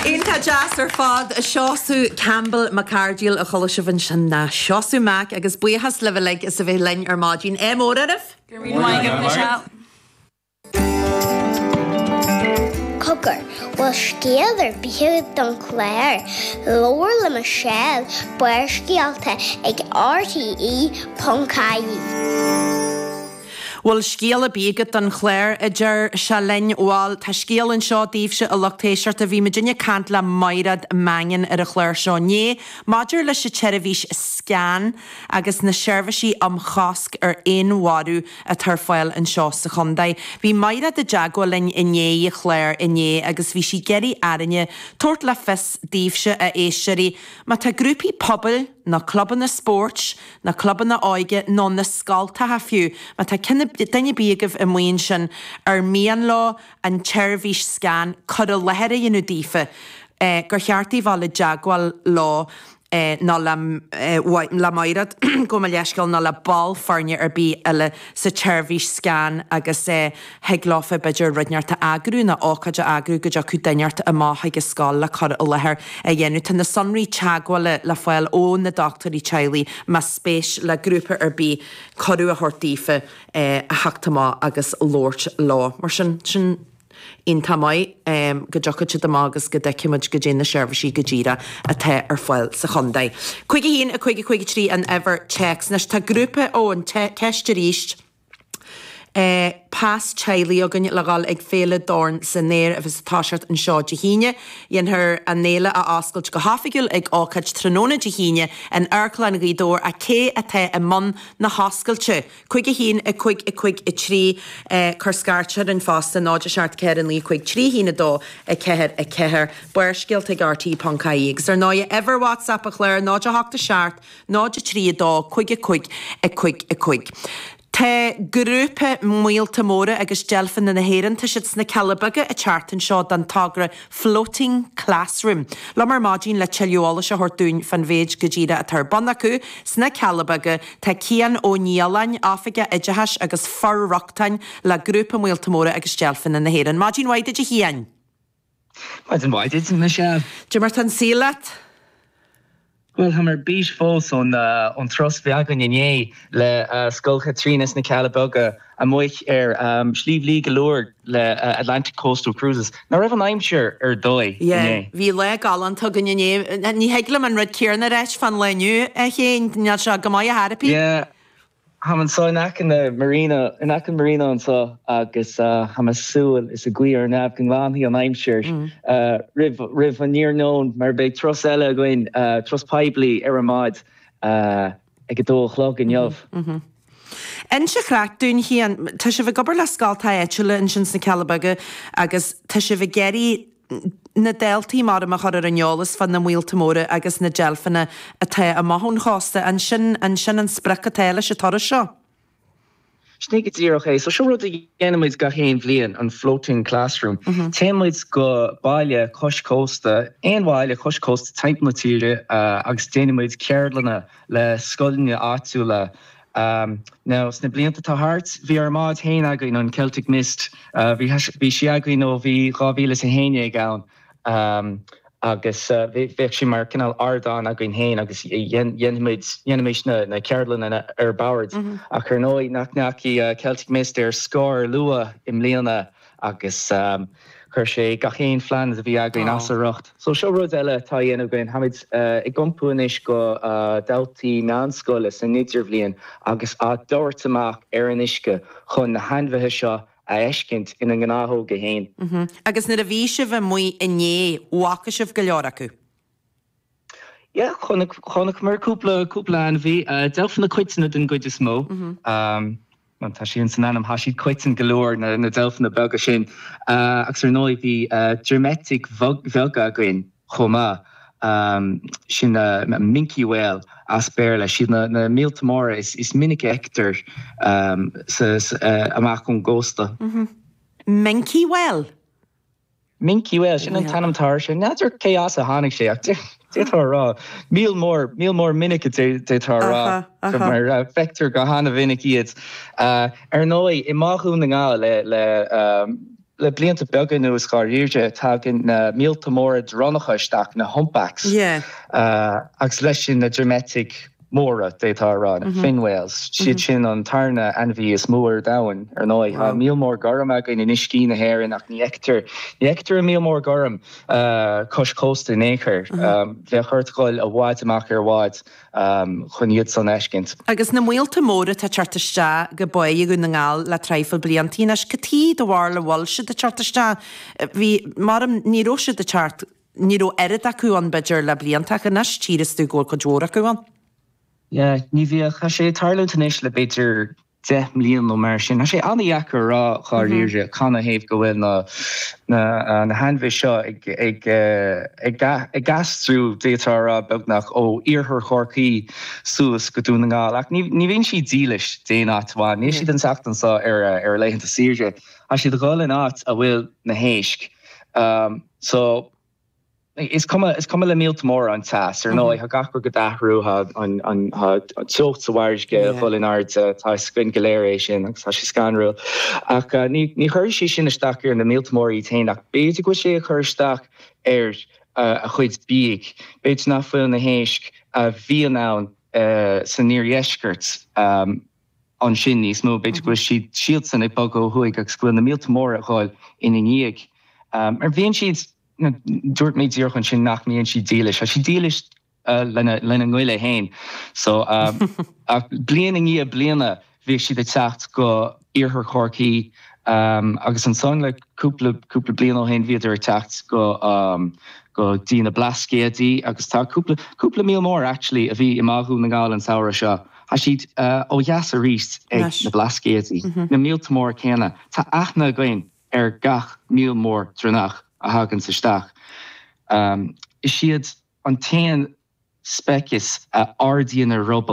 Iontach deas ar fad. Seosamh Campbell Mac Cairdill a chuala sibh ansin, nó Seosamh Mac, agus buíochas libh uilig as a bheith linn ar maidin. Ádh mór oraibh! Go raibh míle maith agat, Michelle. Cogar, bhfuil scéal ar bith agat don chlár? Labhair le Michelle, Barrscéalta ag RTE.ie. Bhfuil scéal ar bith agat don chlár, a deir sé linn. Bhal, tá scéal anseo daoibhse, a lucht éisteachta. Bhí muidinne ag caint le Maighread Mangan ar an chlár seo inné maidir leis an tseirbhís SCAN agus na seirbhísí um chosc ar fhéinmharú atá ar fáil anseo sa chontae. Bhí Maighread i dteagmháil linn i ndiaidh an chláir inné agus bhí sí ag iarraidh orainne tabhairt le fios daoibhse, a éisteoirí, má tá grúpaí pobail nó clubanna spóirt, na clubanna óige nó na scoltacha fiú, má tá duine ar bith agaibh amuigh ansin ar mian leo an tseirbhís scan cur i láthair a dhéanamh daofa, gur cheart daoibh dul i dteagmháil leo nó le Maighread, gabh mo leithscéal, nó le ball foirne ar bith eile sa tseirbhís scan agus thig leofa b'fhéidir rud inteacht a eagrú nó ócáid a eagrú go dtiocfadh duine inteacht amach chuig an scoil le cur i láthair a dhéanamh. Tá na sonraí teagmhála le fáil ó na dochtúirí teaghlaigh más spéis le grúpa ar bith cuireadh a thabhairt daofa a theacht amach agus labhairt leo. Mar sin, sin iontach maith go dtiocfaidh siad amach agus go dtuigfidh muid goidé na seirbhísí go díreach atá ar fáil sa chontae. 5 1 5 5 3 an uimhir téacs. Anois tá grúpa, ó, an ceist arís. Pas teaghlaigh againn le dhul ag Féile Dorn san Aer a bheas ag toiseacht anseo Dé hAoine. Dhéanfar an fhéile a oscailt go hoifigiúil ag ócáid tráthnóna Dé hAoine in Amharclann Ghaoth Dobhair ach cé atá i mbun na hoscailte? 5 1 5 5 3 Cuir scairt orainn fosta 0 7 4 9 5 3 1 2 4 4 Barrscéalta ag RTÉ.ie Agus ar ndóigh uimhir WhatsApp an chláir 0 8 7 0 3 2 5 5 5 5. Tá grúpa Míolta Móra agus Deilfeanna na hÉireann, tá siad sna Cealla Beaga an tseachtain seo don togra Floating Classroom. Liom ar maidin le tuilleadh eolais a thabhairt dúinn fán mhéid go díreach atá ar bun acu sna Cealla Beaga tá Cian Ó Nialláin, Oifigeach Oideachais agus For-rochtain le Grúpa Míolta Móra agus Deilfeanna na hÉireann. Maidin mhaith duit a Chiain! Maidin mhaith duit, Michelle. Cad é mar tá an saol leat? Bhuel, táim ar bís fós ón turas a bhí againn inné le Scoil Chaitríona sna Cealla Beaga amuigh ar Shliabh Liag Luaidhe le Atlantic Coastal Cruises. Nach raibh an aimsir ar dóigh inné? Yeah, bhí lá galánta againn inné. Ní thig liom an rud céanna a ráit fán lá inniu, a Chéin. Níl sé go maith ar chor ar bith. Yeah. Táim anseo in aice na marina, in aice an marina anseo agus táim ag súil is ag guí ar neamh go nglanfaidh an aimsir roimh, roimh an iarnóin mar beidh turas eile againn, turas poiblí ar an mbád ag a dó a chlog inniu. Inis an chraic dúinn, Chian, tá sibh ag obair le scoltacha áitiúla ansin sna Cealla Beaga agus tá sibh ag iarraidh na daltaí maram a chur ar an eolas fá na míolta móra agus na deilfeanna atá amach ón chósta. An sin, an sin an sprioc atá leis an turas seo? Sin é go díreach é. So seo rud a dhéanann muid gach aon bhliain, an floating classroom. Téann muid go baile cois cósta, aon bhaile cois cósta timpeall na tíre agus déanann muid ceardlanna le scoileanna áitiúla Now, sna blianta atá thart, bhí ár mbád féin againn, an Celtic Mist. Bhí bhí sí againn ó bhí 2011 ann agus bheadh sí mar cineál ardán againn féin agus dhéanfaimid, dhéanfaimis na ceardlanna ar bord. Ach ar ndóigh nach ndeachaigh Celtic Mist ar scor luath i mbliana agus chuir sé gach aon phlean a bhí againn as a riocht. So seo rud eile atá á dhéanamh againn, táimid ag iompú anois go daltaí meánscoile san idirbhliain agus á dtabhairt amach ar an uisce chun na hainmhithe seo a fheiscint ina ngnáthóga féin. Agus nuair a bhí sibh amuigh inné, bhfaca sibh go leor acu? Yeah, chonaic, chonaiceamar cúpla, cúpla ainmhí. Deilfeanna coiteanna den gcuid is mó. Tá sé san ainm, tá siad coiteann go leor, na deilfeanna beaga sin. Agus ar ndóigh bhí droim-eitigh bheaga againn chomh maith, sin minke whale as Béarla. Siad na míolta móra is minice a fheictear amach ón gcósta. Minke whale? Minke whale, sin an t-ainm atá air sin. N'fheadar cé as a tháinig sé ach d'fhéadfá a rá, míol mór, míol mór minic a d'fhéadfá a rá, mar feictear go hana-mhinic iad. Ar ndóigh, i mBá Dhún na nGall le, le, le blianta beaga anuas dháiríre, tagann na míolta móra dronnacha isteach, na humpbacks, agus leis sin na droimeitigh móra, d'fhéadfá a rá, na fin whales. Siad sin an tarna ainmhí is mó ar domhan, ar ndóigh. Tá míol mór gorm againn in uiscí na hÉireann ach ní fheictear, ní fheictear an míol mór gorm cois cósta in aon chor. Bheadh ort dhul i bhfad amach ar bhád chun iad san a fheiscint. Agus na míolta móra atá ag teacht isteach go Báigh Dhún na nGall le traidhfil bliantaí anois, cad chuige do bharúil a bhfuil siad ag teacht isteach? Bhí, maram, ní raibh siad ag teacht, ní raibh oiread acu ann b'fhéidir le blianta ach anois tchíreas tú go bhfuil cuid mhór acu ann. Yeah, ní bhíodh. Tá sé ag tarlúint anois le b'fhéidir 10 mbliain nó mar sin. Tá sé an-dheacair a rá dháiríre canathaobh go bhfuil na na hainmhithe seo ag ag ag ag aistriú, d'fhéadfá a rá, beagnach ó iarthar Chorcaí suas go Dún na nGall. Ach ní ní bhíonn siad dílis d'aon áit amháin. Níl siad ag teacht anseo ar ar laethanta saoire. Tá siad ag dhul in áit a bhfuil na héisc. So. Is cuma, is cuma le míolta móra an teas. Ar ndóigh, tá gach rud ag athrú, tá an, an, tá an teocht sa bhfarraige ag dul in airde, tá a fhios againn go léir é sin agus tá sé scanrúil. Ach ní, ní chuirfidh sé sin isteach ar na míolta móra iad féin ach b'fhéidir go bhfuil sé ag cur isteach ar a chuid bídh. B'fhéidir nach bhfuil na héisc a bhíonn ann san iardheisceart ansin níos mó. B'fhéidir go bhfuil siad, siadsan ag bogadh ó thuaidh agus go bhfuil na míolta móra ag dhul ina ndiaidh. Mar bhíonn siad. Dúirt mé díreach ansin nach mbíonn siad dílis. Tá siad dílis lena lena ngoile féin. So ach bliain i ndiaidh bliana bhíodh siad ag teacht go iarthar Chorcaí agus ansan le cúpla cúpla bliain ó shin bhíodar ag teacht go go dtí na Blascaodaí agus tá cúpla cúpla míol mór actually a bhí i mBá Dhún na nGall an samhradh seo. Tá siad ó dheas arís ag na Blascaodaí, na míolta móra céanna. Tá aithne againn ar gach míol mór dronnach a thaganns isteach. Is iad an t-aon speiceas a ardaíonn a ruball.